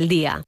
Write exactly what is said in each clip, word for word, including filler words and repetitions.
el día.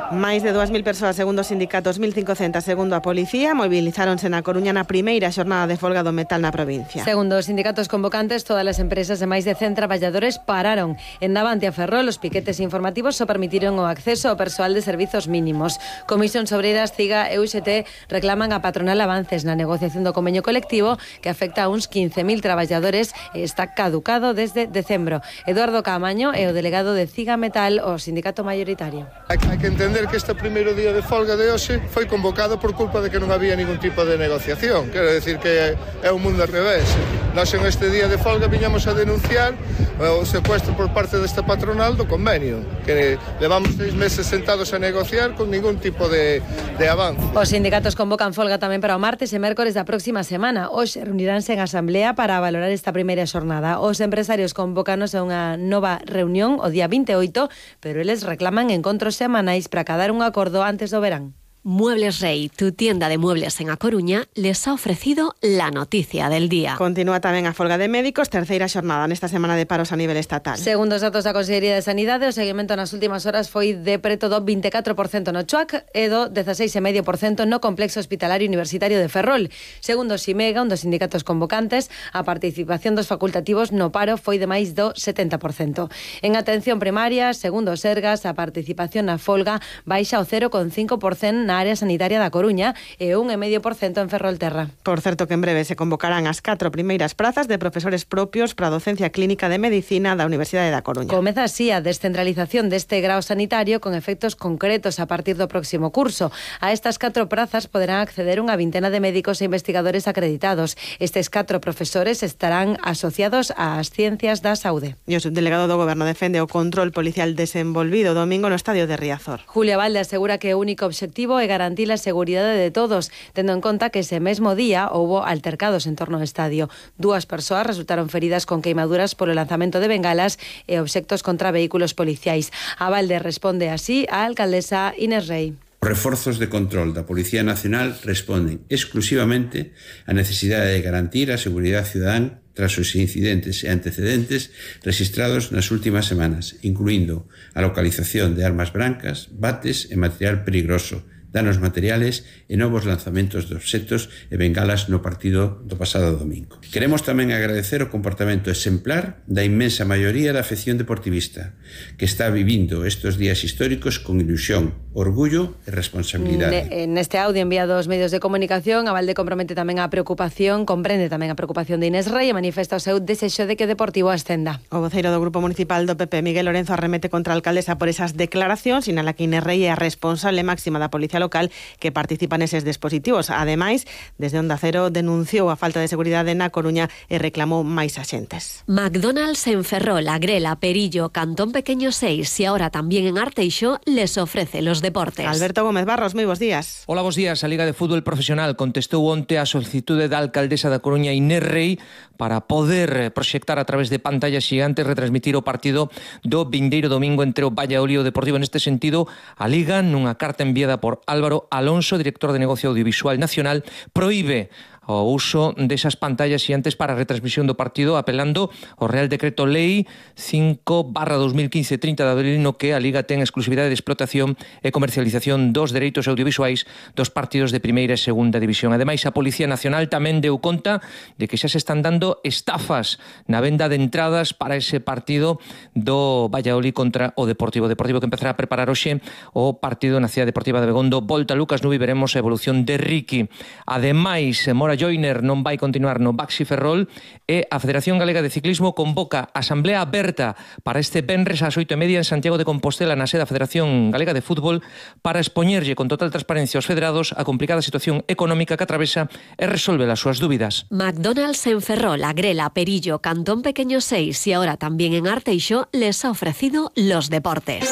Máis de dúas mil persoas, segundo os sindicatos, mil cincocentas segundo a policía, mobilizáronse na Coruña na primeira xornada de folga do metal na provincia. Segundo os sindicatos convocantes, todas as empresas de máis de cen traballadores pararon. En Navante a Ferrol, os piquetes informativos só permitiron o acceso ao persoal de servizos mínimos. Comisións Obreiras, CIGA e U X T reclaman a patronal avances na negociación do convenio colectivo que afecta a uns quince mil traballadores e está caducado desde decembro. Eduardo Caamaño é o delegado de CIGA Metal, o sindicato mayoritario. Hai que entender que este primeiro día de folga de hoxe foi convocado por culpa de que non había ningún tipo de negociación. Quero decir que é un mundo ao revés. Nós en este día de folga viñamos a denunciar o secuestro por parte desta patronal do convenio, que levamos seis meses sentados a negociar con ningún tipo de, de avance. Os sindicatos convocan folga tamén para o martes e mércores da próxima semana. Hoxe reuniránse en asamblea para valorar esta primeira xornada. Os empresarios convócanos a unha nova reunión o día vinte e oito, pero eles reclaman encontros semanais para cadar un acordo antes do verán. Muebles Rey, tu tienda de muebles en A Coruña, les ha ofrecido la noticia del día. Continúa tamén a folga de médicos, terceira xornada nesta semana de paros a nivel estatal. Segundo os datos da Consellería de Sanidade, o seguimento nas últimas horas foi de preto do vinte e catro por cento no Chuac e do dezaseis vírgula cinco por cento no Complexo Hospitalario Universitario de Ferrol. Segundo o Ximega, un dos sindicatos convocantes, a participación dos facultativos no paro foi de máis do setenta por cento. En atención primaria, segundo o Sergas, a participación na folga baixa ao cero vírgula cinco por cento na área sanitaria da Coruña e un vírgula cinco por cento en Ferrolterra. Por certo que en breve se convocarán as catro primeiras prazas de profesores propios para a docencia clínica de medicina da Universidade da Coruña. Comeza así a descentralización deste grao sanitario con efectos concretos a partir do próximo curso. A estas catro prazas poderán acceder unha vintena de médicos e investigadores acreditados. Estes catro profesores estarán asociados ás ciencias da saúde. E o subdelegado do Goberno defende o control policial desenvolvido o domingo no estadio de Riazor. Julia Valde asegura que o único obxectivo é garantir a seguridade de todos, tendo en conta que ese mesmo día houbo altercados en torno ao estadio. Dúas persoas resultaron feridas con queimaduras polo lanzamento de bengalas e obxectos contra vehículos policiais. A Valde responde así a alcaldesa Inés Rey. Os reforzos de control da Policía Nacional responden exclusivamente á necesidade de garantir a seguridade cidadán tras os incidentes e antecedentes registrados nas últimas semanas, incluindo a localización de armas brancas, bates e material peligroso, danos materiales e novos lanzamentos de obxectos e bengalas no partido do pasado domingo. Queremos tamén agradecer o comportamento exemplar da inmensa maioría da afección deportivista, que está vivindo estes días históricos con ilusión, orgullo e responsabilidade. Ne, neste audio enviado aos medios de comunicación, a Valde compromete tamén a preocupación, comprende tamén a preocupación de Inés Rey e manifesta o seu desexo de que o Deportivo ascenda. O voceiro do Grupo Municipal do P P, Miguel Lorenzo, arremete contra a alcaldesa por esas declaracións, sinala que Inés Rey é a responsable máxima da Policía Local que participa neses dispositivos. Ademais, desde Onda Cero denunciou a falta de seguridade na Coruña e reclamou máis axentes. McDonald's en Ferrol, Agrela, Perillo, Cantón Pequeño seis y ahora también en Arteixo les ofrece los deportes. Alberto Gómez Barros, moi bons días. Hola, bons días. A Liga de Fútbol Profesional contestou onte a solicitude da alcaldesa da Coruña Inés Rey para poder proxectar a través de pantallas gigantes retransmitir o partido do vindeiro domingo entre o Valladolid e o Deportivo. Neste sentido, a Liga, nunha carta enviada por Álvaro Alonso, director de Negocio Audiovisual Nacional, proíbe o uso desas pantallas xiantes para a retransmisión do partido, apelando ao Real Decreto Lei cinco barra dos mil quince trinta de abril, no que a Liga ten exclusividade de explotación e comercialización dos dereitos audiovisuais dos partidos de primeira e segunda división. Ademais, a Policía Nacional tamén deu conta de que xa se están dando estafas na venda de entradas para ese partido do Valladolid contra o Deportivo. O Deportivo que empezará a preparar hoxe o partido na Cidade Deportiva de Begondo. Volta Lucas Nubi, veremos a evolución de Ricky. Ademais, Mora Joiner non vai continuar no Baxi Ferrol e a Federación Galega de Ciclismo convoca asamblea aberta para este venres ás oito e media en Santiago de Compostela na sede da Federación Galega de Fútbol para expoñerlle con total transparencia aos federados a complicada situación económica que atravesa e resolver as súas dúbidas. McDonald's en Ferrol, Agrela, Perillo, Cantón Pequeño seis y ahora también en Arteixo les ha ofrecido los deportes.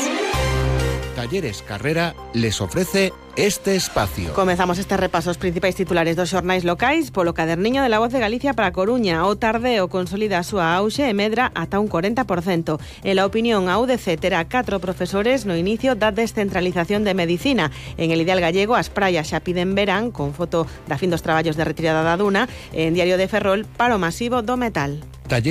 Talleres Carrera les ofrece este espacio. Comezamos este repaso os principais titulares dos xornais locais polo caderniño de La Voz de Galicia para Coruña. O Tardeo consolida a súa auxe e medra ata un corenta por cento. En la opinión, a U D C terá catro profesores no inicio da descentralización de medicina. En el Ideal Gallego, as praias xa piden verán, con foto da fin dos traballos de retirada da duna. En Diario de Ferrol, paro masivo do metal. Talleres